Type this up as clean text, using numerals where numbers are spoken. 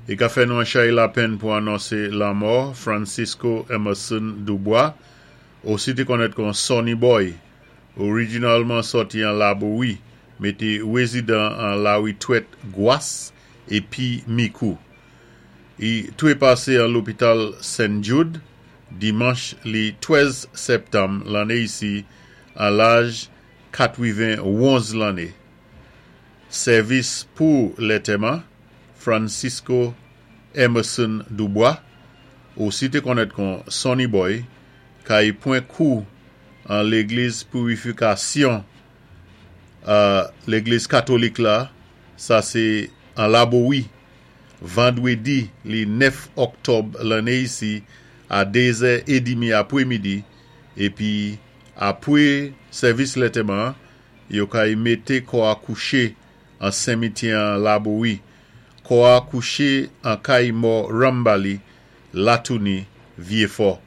I ka fè nou an chay lapenn pou anonsé lanmò Francisco Emerson Dubois, osi té konnèt kon Sonny Boy, orijinalman sòti an Labowi, mé té wézidan an Lawi Twèt Gwas épi Mikou. I twépasé an lopital Sen Jude, dimanch li 13 sèptanm lanné isi an laj 91 lanné. Sèvis pou lètèman Francisco Emerson Dubois, osi té konnèt kon Sonny Boy, kay pwan kou an légliz Pirifikasyon légliz katolik la, sa sé an Labowi, vandwédi li 9 òktòb lanné isi a 2 zè édimi apwémidi, épi apwé sèvis lètèman an, yo kay mété kò a kouché an senmityè an Labowi. Kò a kouché an kay mò Ranmbali, Latouni, Vyéfò.